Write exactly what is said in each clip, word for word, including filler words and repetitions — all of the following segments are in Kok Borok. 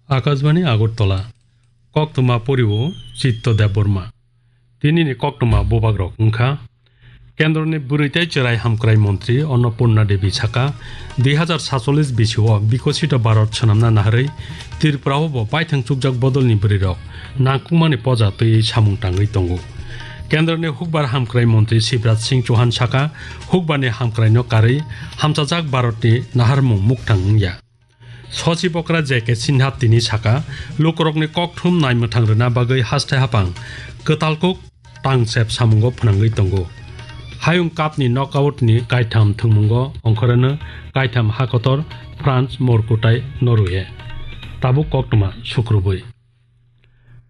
Akashbani Agartala, koktwma poriwo Chitto Debbarma. Tinini koktwma bubagrok wngkha, Kendroni bwrwi tei chwrai hamkrai montri Annapurna Devi saka, dui hazar satchollis bisio Bikosito Bharat swnamna naharwi Tripurao bo baithang chukjak bodolni bwrwirok nangkukmani poja twiwi samung tangwi tongo. Kendroni hukbar hamkrai montri Shivraj Singh Chauhan saka, hukbarni hamkraino karwi hamchajak Bharatni naharmung mukthang wngya. Sochib okra J K Sinha tini saka, lukurokni kokthum naimwthang rwna bagwi haste hapang kwtal kuk tangsep samungo phwnangwi tongo. Hayung Cupni knockoutni kaitham thwngmungo ongkhoreno kaitham hakotor France, Morocco tei Norway. Tabuk koktwma sukrubwi.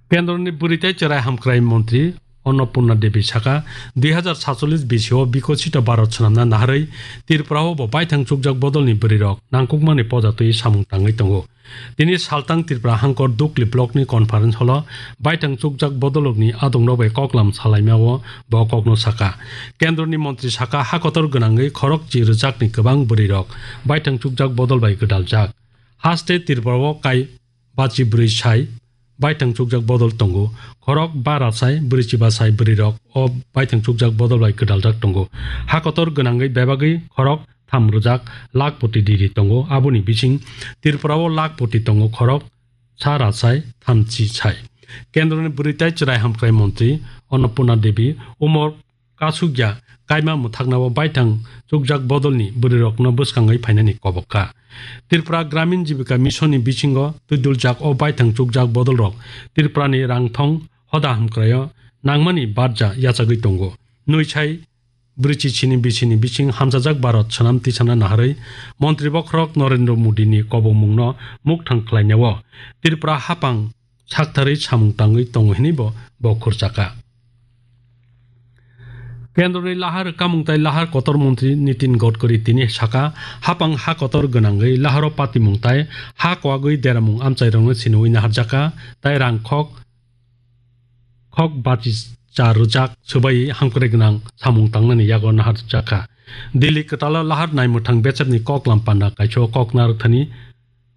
Kendroni bwrwi tei chwrai hamkrai montri Annapurna Devi saka, dui hazar satchollis bisio Bikosito Bharat swnamna naharwi Tripurao bo baithang chukjak bodolni bwrwirok nangkukmani poja twiwi samung tangwi tongo. Tini saltang Tripura hangkor Dukli blockni conference holo baithang chukjak bodolrokni adongrok bai koklam salaimao bo kokno saka. Kendroni montri saka, hakotor gwnangwi khorok chi rwjakni kwbang bwrwirok baithang chukjak bodol bai gwdaljak. Haste Tripurao kai bachi bwrwi sai baithang chukjak bodol tongo. Khorok bara sai, bwrwi chiba sai bwrwirok o baithang chukjak bodol bai gwdaljak tongo. Hakotor gwnangwi bebagwi khorok tham rwjak lakh poti diri tongo. Aboni bising Tripurao lakh poti tongo, khorok sa ra sai, thamchi sai. Kendroni bwrwi tei chwrai hamkrai montri Annapurna Devi umor kasukya kaima mwthaknao baithang chukjak bodolni bwrwirokno bwskangwi phainani kobok kha. Tripura Gramin Jibika Mission ni bisingo twiduljak o baithang chukjak bodolrok Tripurani rangthong hoda hamkraio nangmani barja yachagwi tongo. Nwi sai bwrwi chichini bisini bising hamchajak Bharat swnam tisana naharwi montri bokhorok Narendra Modi ni kobokmungno mukthang khlainao Tripura hapang saktharwi samung tangwi tongo hinwi bo, bo khurchakha. Kendroni lahar rwkhamung tei lahar kotor montri Nitin Gadkari tini saka, hapang ha kotor gwnangwi laharo patimung tei ha kwagwi deramung amchairokno siniwi naharjakha tei rang khok, khok bachi cha rwjak swbaiwi hamkrai gwnang samung tangnani yago naharjakha. Delhi kwtalo lahar naimwthang bechepni koklam panda kaisio kok narwkthani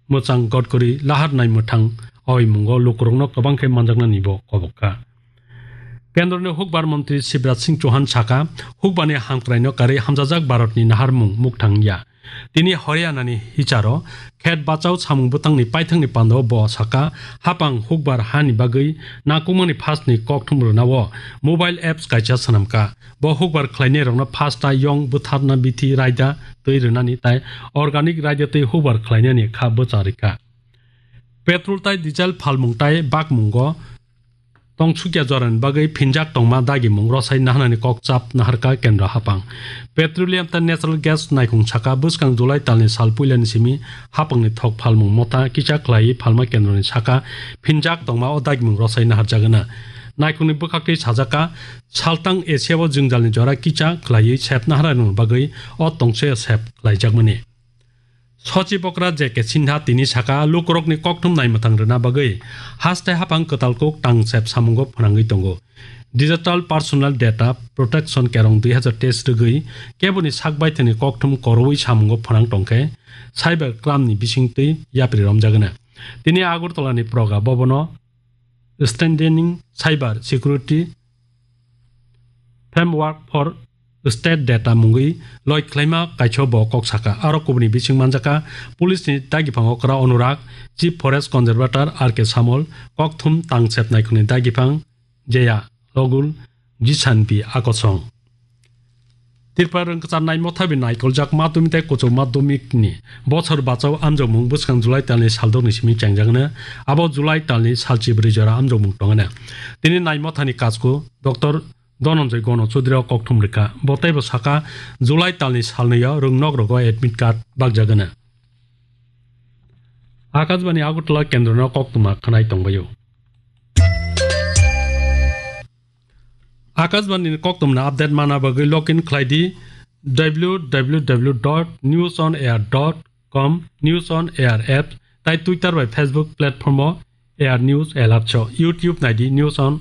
mwchang Gadkari lahar naimwthang oimungo lukurokno kwbang khe manjaknani bo kobok kha. Kendroni hukbar montri Shivraj Singh Chauhan saka, hukbarni hamkraino karwi hamjajak Bharatni naharmung mukthang ya. Tini Haryanani hicharo khet bachao samung bwtangni paithangni pandao bo saka, hapang hukbar hani bagwi nangkukmani phasni kokthum rwnao mobile apps kaisa swnamkha. Bo hukbar khlainairokno phasta yong bwtharna bithi raida twi rwnani tai organic raida twi hukbar khlainani kha bwcha rikha. Petrol tai diesel phalmung tai bakmungo tongsukya jorani bagwi phinjak tongma dagimung rwsai naharnani kok chap naharkha kendro hapang. Petroleum tai natural gas naikhung saka bwskang July talni sal puilani simi hapangni thok phalmung motha kisa khlaiwi phalma kendroni saka phinjak tongma o dagimung rwsai naharjagana. Naikhungni bwkhaktwi sajaka, saltang Asia o jwngjalni jora kisa khlaiwi sep naharnani bagwi o tongse sep khlaijakmani. Sochib okra J K Sinha tini saka, lukurokni kokthum naimwthang rwna bagwi haste hapang kwtal kuk tangsep samungo phwnangwi tongo. Digital Personal Data Protection Kerong dui hazar teis rwgwi keboni sak baithangni kokthum koroi samungo phwnang tongkhe cyber crime ni bisingtwi yapri romjagana. Tini Agartala ni Proga Bhavan o Strengthening Cyber Security Framework for State Data mungwi loi khlaima kaisio bo kok saka. Aro kubuni bising manjaka, police ni dagiphango kwra Anurag, Chief Forest Conservator R K Samol, kokthum tangsep naikhungni dagiphang Jeya Rogul, Jisan B Akosong. Tripura rwngkwchar naimothabi naikoljak madhyamik tei kuchuk madhyamik ni bochor bachao amjokmung bwskang July talni saldokni simi chengjaknai. Abo July talni salchibrwi jora amjokmung tongna. Tini naimothani kachku Doctor Dhananjay Gano Chaudhary o kokthum rikha. Bo teibo saka, July talni salnwi o rwngnok rogo admit card bakjagana. Akashbani Agartala kendro no koktwma khwnai tongbaio. Akashbani ni koktwmani update mana bagwi login khlai di W W W dot news on air dot com, News on Air app, tai Twitter bai Facebook platform o Air News Alerts o, YouTube nai di News on